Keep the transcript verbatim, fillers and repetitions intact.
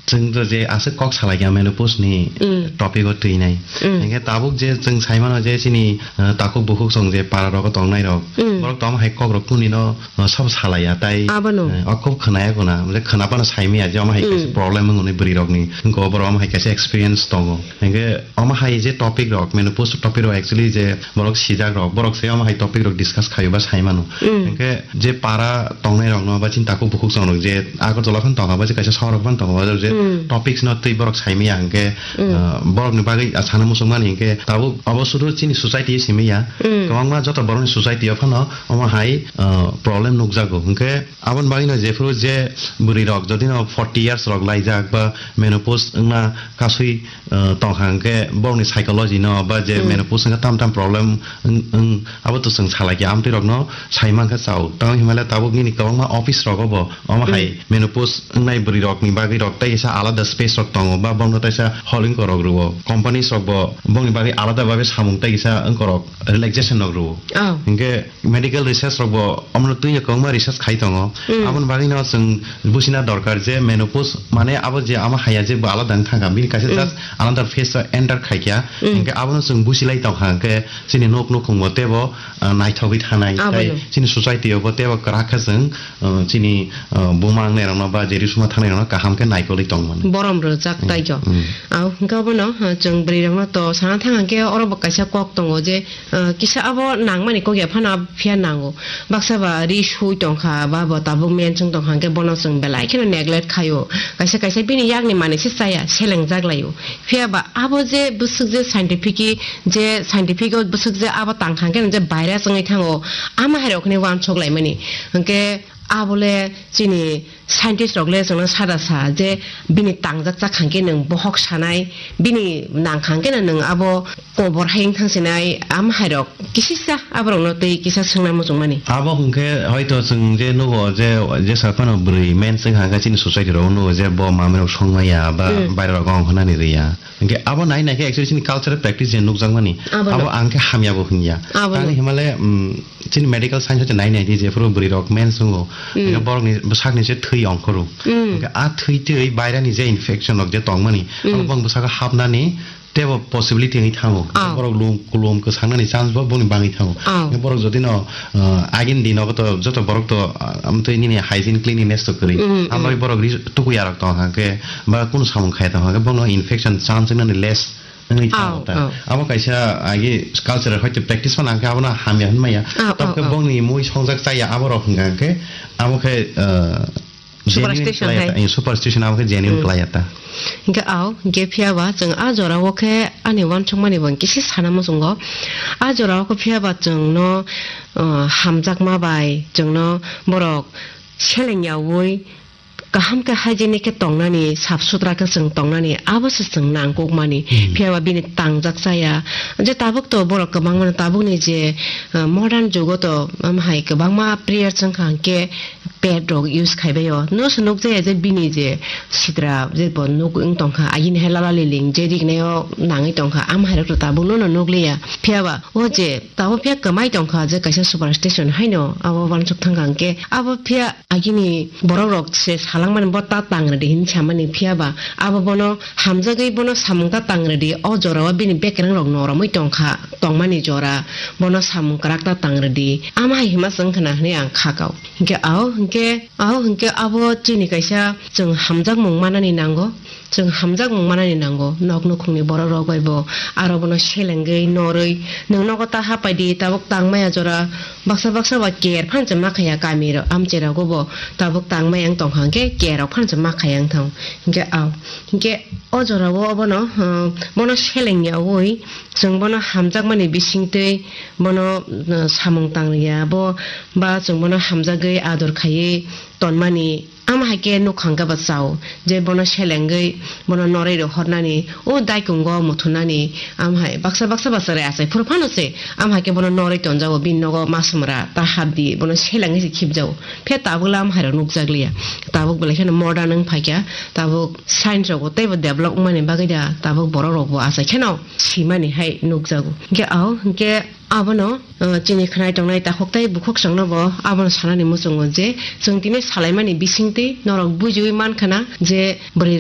Chwng to je aswk kok salai kha menopause ni Mm. topic o twi nai. Mm. Hingke tabuk je chwng sai mano je chini, uh, takhuk bukhuk song je para rogo tongnai rok. Mm. Borok tamo hai kok rok kuni no, uh, sabo salai ya tai. Abono. Uh, o kok khwnaya guna, je khwnapano sai maya je omo hai kaisa Mm. problem wng nai bwrwi rok ni. Hingke obo oro omo hai kaisa experience tongo. Hingke omo hai je topic rok, menopause topic rok actually je borok sijak rok, borok se omo hai topic rok discuss khayo ba sai mano. Mm. Hingke je para tongnai rok no ba chini takhuk bukhuk song rok je Agartala phano tongo ba je kaisa sohor rok phano tongo ba je Mm. topics no twi borok sai maya hingke, Mm. ah, borok ni bagwi, ah, sana muchung mani hingke tabuk obo sudu chini society o simi ya. Mm. Kwbangma joto borok ni society o phano omo hai, ah, problem nukjago hingke aboni bagwi no jephuru je bwrwi rok jodi no forty years rok laijak ba menopause wngna kasui uh, tongkha hingke borokni psychology no ba je Mm. menopause hingke tam tam problem wng, wng, abo to chwng salai khe amtwi rokno sai mankha chao. Tamo hinmale tabuk nini kwbangma office rogo bo omo hai Mm. menopause wngnai bwrwi rokni bagwi rok tei kisa alada space rok tongo ba bono teisa hol wngko rok rwo. Companies rok bo bongni bagwi alada babe samung tei kisa wngko rok relaxation rok rwo. Oh. Hingke medical research rok bo omono twi kwbangma research khai tongo. Mm. Aboni bagwi no chwng buchina dorkar je menopause mane abo je ama haya je bo alada wng thangkha, bini kaisa Mm. just another phase o enter khaikha. Mm. Hingke abono chwng buchilai tongkha hingke chini nok nukhung bo tebo, ah, naithogwi thanai Abono. tei chini society o bo tebo kwrak khe chwng, ah, chini, ah, buma wngnairokno ba je risuma thangnairokno kaham khe naikolwi tongmani. Borom rwjak Mm. taijo. Mm. Ao hingke abono, ah, chwng bwrwi rokno to sana thang hingke oro bo kaisa kok tongo je, Ah, kisa abo nangmani kok ya phano abo phiya nango. Baksa ba ri sui tongkha, ba bo tabuk menswng tongkha, hwnkhe bono chwng belai kheno neglect khaio. Kaisa kaisa bini yakni manwi se chaya, selengjak laio. Phiya ba abo je bwswk je scientific-i, je scientific-o bwswk je abo tangkha hwnkhe je virus wngwi thango, ama hai rok hwnwi uansuk laimani. Hwnkhe Abole chini scientist rok le chwngno sada sa je bini tangjak chak hangke nwng bohok sanai, bini nang hangke no nwng abo kobor hai wng thang sinai, am hai rok kisisa aborok no tei kisa swngna muchung mani. Abo hwnkhe hoito chwng je nugo je, je sa phano bwrwi men swng hangkhe chini society rok nugo je bo mamai rok song maya ba Hmm. bairok rok ong hwnani rwya. Hingke abo nai nai khe actually chini cultural practice je nukjakmani, Abono. abo ang khe hamya bo hwnya. Abono. Tangni himale, mm, chini medical science hoite nai nai di, jephuru bwrwi rok mens wngo, Mm. hingke borok ni bwsak ni se thwi ongkhoro. Mm. Hingke a thwi twi bairani je infection rok je tongmani, Mm. abo bong bwsako hapnani tebo possibility wngwi thango. Oh. Borok lum, kulum kwsaknani chance bo boni bangwi thango. Oh. Hingke borok jodi no, uh, agini dino to joto borok to, uh, amtwi nini hygiene cleanliness to kwrwi. Mm, Ambai mm. borok ri-, tukuya rok tong hingke, ba kunu samung khaya tong hwnkhe bono infection chance wngnani less wngwi thango Oh, ta. oh. Abo kaisa agi cultural hoite practice phano hwnkhe abono hamya hwnmaya. Oh, Tamo khe oh, oh. bongni mui songjak chaya abo rok hwnkha hwnkhe abo khe, uh, genuine Superstition khlai hai. ta, eh, superstition abo khe genuine Mm. khlai ta. Hwnkhe ao, hwnkhe phiya ba chwng a jora o khe ani uansukmani bo kisi sana muchungo. A jora o khe phiya ba chwngno, uh, hamjakma bai chwngno borok seleng yaui kaham khe hygienic khe tongnani, sap sutra khe chwng tongnani, abo se chwng nangkukmani. Hmm. Phiya ba bini tangjak chaya. Je tabuk to borok kwbangma no tabukni je, uh, modern jugo to, um, hai kwbangma prayer chwng kha hwnkhe pad rok use khai bai o. No se nuk jaya je bini je sitra je bo nuk wng tong kha, agini hai lala liling je rignai o nangwi tong kha, am hai rok to tabuk no no nuk liya. Phiya ba o je tabuk phiya kwmai tong kha je kaisa superstition haino abo uansuk thang kha hwnkhe abo phiya Agini borok rok se salangmani bo ta tang rwdi hinwi samani, phiya ba abo bono hamjagwi bono samung ta tang rwdi, o jora o bini bekereng rok noromwi tongkha, tongmani jora bono samung kwrak ta tang rwdi, ama hai hima chwng khna hinwi ang kha kao. Hinkhe ao hinkhe ao hinkhe abo chini kaisa chwng hamjakmung manani nango. Chwng hamjakmung manani nango, nok nukhungni borok rok bai bo aro bono selengwi norwi, nwng nogo ta hapai di, tabuk tang maya jora, baksa baksa ba care phano se ma khaya kami rok, amchai rogo bo tabuk tang maya wng tong kha, hwnkhe care rok phano se ma khaya wng thang, hwnkhe ao, hwnkhe o jora o obono, uh, bono seleng yaui, chwng bono hamjakmani bisingtwi bono, uh, samung tang ya bo, ba chwng bono hamjagwi ador khaiwi tonmani. Ama hai khe nukhang khe bo chao, je bono selengwi bono norwi rohornani, o daikungo muthunani, ama hai baksa baksa baksa re achai phuru phano se, ama hai khe bono norwi tonjago, bini nogo ma samra ta hapdi, bono selengwi se khibjago. Phiya tabuk le ama hai rok nukjak liya, tabuk belai kheno modern wng phaikha, tabuk science rok bo teibo develop wngmani bagwi da, tabuk borok rok bo achai kheno simani hai nukjago. Hinkhe ao hinkhe Abono, uh, chini khwnai tongnai takhuk tei bukhuk chwngno bo abono sanani muchungo je, chwng tini salaimani bisingtwi norok bujiui man khna je bwrwi